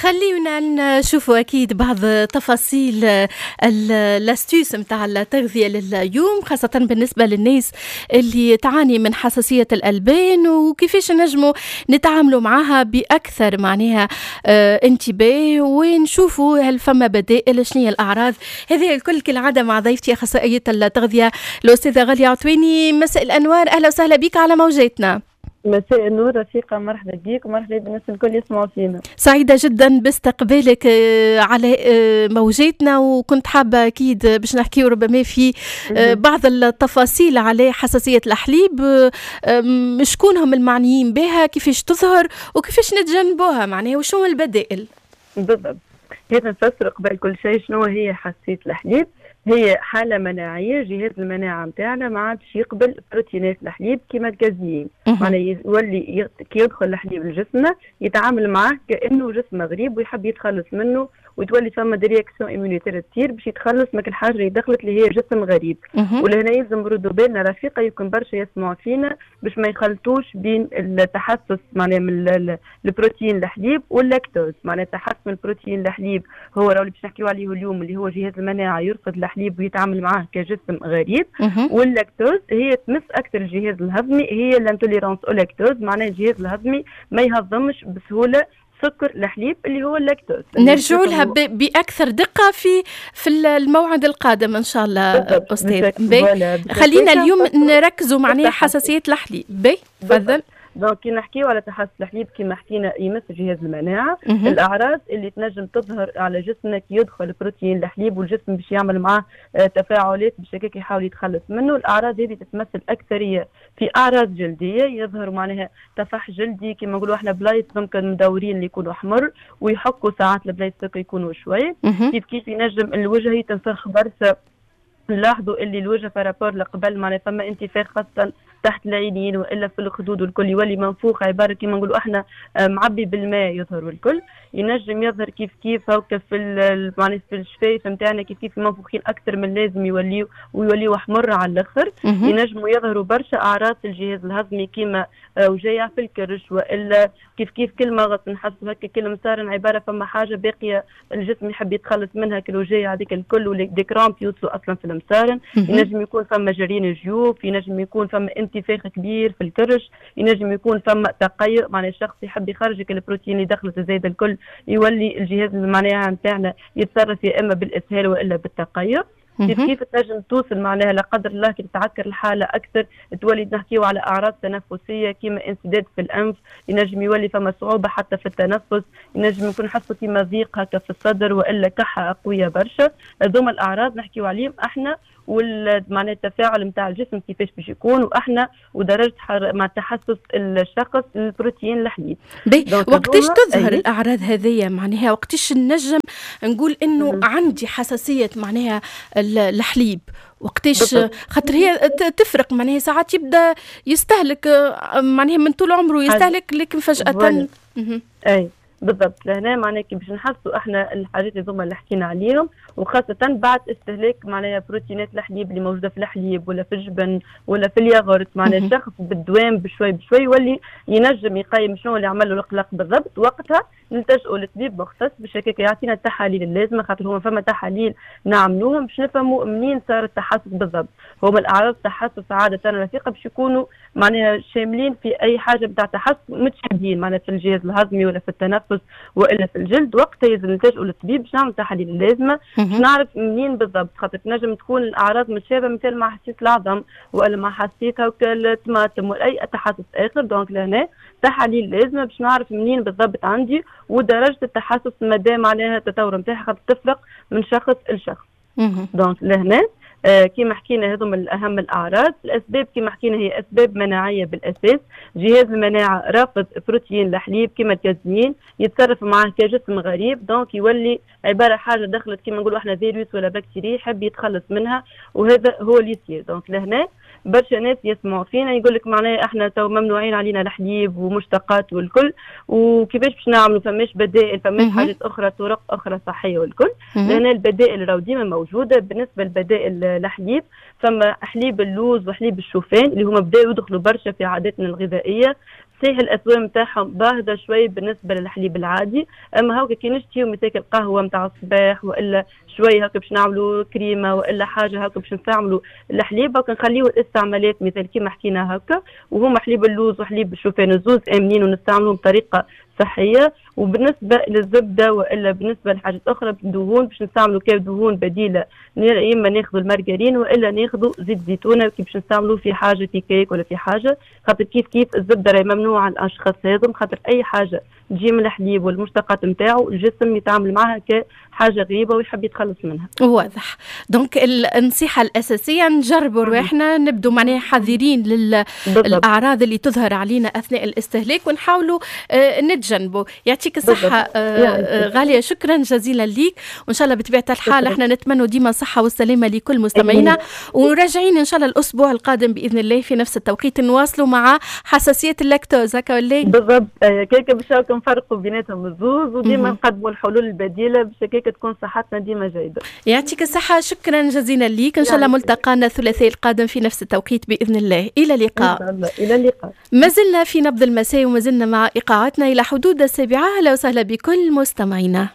خلينا نشوفوا اكيد بعض تفاصيل l'astuce نتاع التغذية لليوم، خاصة بالنسبة للناس اللي تعاني من حساسية الالبان، وكيفاش نجموا نتعاملوا معها باكثر معناها انتباه، ونشوفوا هل فما بدائل، شنو هي الاعراض. هذه الكل كالعادة مع ضيفتي اخصائية التغذية الاستاذة غالية عطويني. مساء الانوار، اهلا وسهلا بك على موجاتنا. مساء النور رفيقة، مرحبا بك ومرحبا بالناس الكل يسمعوا فينا. سعيدة جدا باستقبالك على موجاتنا، وكنت حابة أكيد باش نحكي ربما في بعض التفاصيل على حساسية الحليب، شكون هم المعنيين بها، كيفاش تظهر وكيفاش نتجنبوها معناها، وشو البدائل. بالضبط، هذا نفسر قبل كل شيء شنو هي حساسية الحليب. هي حالة مناعية، جهاز المناعة نتاعنا ما عادش يقبل بروتينات الحليب كيما الكازيين، معناها يولي كي يدخل الحليب لجسمنا يتعامل معاه كأنه جسم غريب ويحب يتخلص منه، وتولي فما des réactions immunitaires تصير باش يتخلص من الحاجة اللي دخلت اللي هي جسم غريب. ولهنا يلزم نردوا بالنا رفيقه، يمكن برشا يسمعوا فينا باش ما يخلطوش بين التحسس معناها من البروتين الحليب واللاكتوز. معناها التحسس من البروتين الحليب هو اللي باش نحكيو عليه اليوم، اللي هو جهاز المناعة يرفض الحليب ويتعامل معاه كجسم غريب. واللاكتوز هي تمس اكثر الجهاز الهضمي، هي l'intolérance au lactose، معناها الجهاز الهضمي ما يهضمش بسهولة سكر الحليب اللي هو اللاكتوز. نرجع لها باكثر دقه في الموعد القادم ان شاء الله استاذ. خلينا اليوم نركزوا معناها حساسية الحليب. بي تفضل. donc كي نحكيو على تحسس الحليب كيما حكينا يمس جهاز المناعه. الاعراض اللي تنجم تظهر على جسمنا كي يدخل بروتين الحليب والجسم باش يعمل معاه تفاعلات باش هكاك يحاول يتخلص منه. الاعراض هذه تتمثل اكثرية في اعراض جلديه، يظهر معناها طفح جلدي كما نقولوا احنا، بلايص ممكن مدورين اللي يكونوا احمر ويحكوا ساعات البلايص يكونوا شوي. كيف كيف ينجم الوجه يتنفخ برشا، نلاحظوا اللي الوجه par rapport لقبل معناها فما انتفاخ خاصة تحت العينين والا في الخدود والكل، يولي منفوخ عبارة كيما نقولوا احنا معبي بالماء يظهر والكل. ينجم يظهر كيف كيف هكا في معناها في الشفايف نتاعنا كيف كيف منفوخين اكثر من اللازم يوليو ويوليو احمر على الاخر. ينجموا يظهروا برشا اعراض في الجهاز الهضمي كيما وجايع في الكرش، والا كيف كيف كل مغص نحسوا هكا كل مسارن عبارة فما حاجة باقية الجسم يحب يتخلص منها، كل وجايع هذيك الكل و des crampes يوصلوا اصلا في المسارن. ينجم يكون فما جرين جيوب، ينجم يكون فما انتفاخ كبير في الكرش، ينجم يكون فما تقيؤ، معناها الشخص يحب يخرج البروتين اللي دخلت الزايدة الكل، يولي الجهاز المناعة نتاعنا يتصرف يا اما بالاسهال والا بالتقيؤ. كيف كيف تنجم توصل معناها لا قدر الله كي تتعكر الحالة اكثر تولي نحكيو على اعراض تنفسية كيما انسداد في الانف، ينجم يولي فما صعوبة حتى في التنفس، ينجم يكون حسوا كيما ضيق هكا في الصدر والا كحه قوية برشا. هذوما الاعراض نحكيو عليهم احنا، معناها التفاعل نتاع الجسم كيفاش باش يكون، واحنا ودرجة مع تحسس الشخص البروتين الحليب. وقتاش تظهر الاعراض هذيا معناها، وقتاش نجم نقول انه عندي حساسية معناها الحليب، وقتاش؟ خاطر هي تفرق معناها ساعات يبدا يستهلك معناها من طول عمره يستهلك، لكن فجأة. اي بالضبط، لهنا معناها كي باش نحسوا احنا الحاجات هذوما اللي حكينا عليهم، وخاصة بعد استهلاك معناها بروتينات الحليب اللي موجودة في الحليب ولا في الجبن ولا في الياغورت، معناها الشخص بالدوام بشوي بشوي يولي ينجم يقيم شنو اللي عمل له القلق بالضبط. وقتها نلتجئوا لطبيب مختص باش هكاك يعطينا التحاليل اللازمة، خاطر هما فما تحاليل نعملوهم باش نفهموا منين صار التحسس بالضبط. هما الأعراض التحسس عادة رفيقة باش يكونوا معناها شاملين في أي حاجة بتاع تحسس، متشابهين معناها في الجهاز الهضمي ولا في التنفس والا في الجلد. وقتها لازم نلتجئوا للطبيب باش نعمل التحاليل اللازمة باش نعرف منين بالضبط، خاطر تنجم تكون الاعراض متشابهة مثل مع حساسية العظم والا مع حساسية الطماطم ولا اي تحسس اخر. donc لهنا تحاليل لازمه باش نعرف منين بالضبط عندي ودرجة التحسس مدى معناها التطور نتاعها، خاطر تفرق من شخص لشخص. donc لهنا كما حكينا هذوما الاهم الاعراض. الاسباب كما حكينا هي اسباب مناعية بالاساس، جهاز المناعة رافض بروتين الحليب كما الكازيين، يتصرف معاه كجسم غريب، donc يولي عبارة حاجة دخلت كما نقولوا احنا فيروس ولا بكتيريا يحب يتخلص منها، وهذا هو اللي يصير. donc لهنا برشا ناس يسمعوا فينا يقول لك معناها احنا تو ممنوعين علينا الحليب ومشتقات والكل، وكيفاش باش نعملوا؟ فماش بدائل، فماش حاجات اخرى، طرق اخرى صحية والكل. لان البدائل راهو ديما موجودة. بالنسبة لبدائل الحليب فما حليب اللوز وحليب الشوفان اللي هما بداوا يدخلوا برشا في عاداتنا الغذائية. صحيح الاسوام نتاعهم باهظه شوي بالنسبة للحليب العادي، اما هاكا كي نشتيو مثال القهوة نتاع الصباح والا شوي هكا باش نعملوا كريمة والا حاجة هكا باش نستعملوا الحليب، هكا نخليو الاستعمالات مثال كيما حكينا هكا، وهما حليب اللوز وحليب الشوفان الزوز امنين ونستعملوهم بطريقة صحية. وبالنسبة للزبده والا بالنسبة لحاجات اخرى دهون باش نستعملوا كدهون بديله، يا اما ناخذوا المارغرين والا ناخذوا زيت زيتونه كي باش نستعملوا في حاجة في كيك ولا في حاجة، خاطر كيف كيف الزبدة راهي ممنوعة على الاشخاص هذم، خاطر اي حاجة تجي من الحليب والمشتقات نتاعو الجسم يتعامل معها كحاجة غريبة ويحب يتخلص منها. واضح. donc النصيحة الاساسية نجربوا رواحنا، نبدو معناها حذرين للاعراض اللي تظهر علينا اثناء الاستهلاك ونحاولوا نتجنبوا. يعطيك الصحة غالية، شكرا جزيلا ليك، وان شاء الله بطبيعة الحال احنا نتمنى ديما الصحة والسلامة لكل مستمعينا، وراجعين ان شاء الله الاسبوع القادم باذن الله في نفس التوقيت نواصلوا مع حساسية اللاكتوز هكا ولا؟ بالضبط، كيك باش نفرقوا بيناتهم الزوز وديما نقدموا الحلول البديلة باش هكاك تكون صحتنا ديما جيدة. يعطيك الصحة، شكرا جزيلا ليك، ان شاء الله ملتقانا الثلاثاء القادم في نفس التوقيت باذن الله. الى اللقاء. إن شاء الله. الى اللقاء. ما زلنا في نبض المساء وما زلنا مع ايقاعاتنا الى حدود 7. اهلا وسهلا بكل مستمعينا.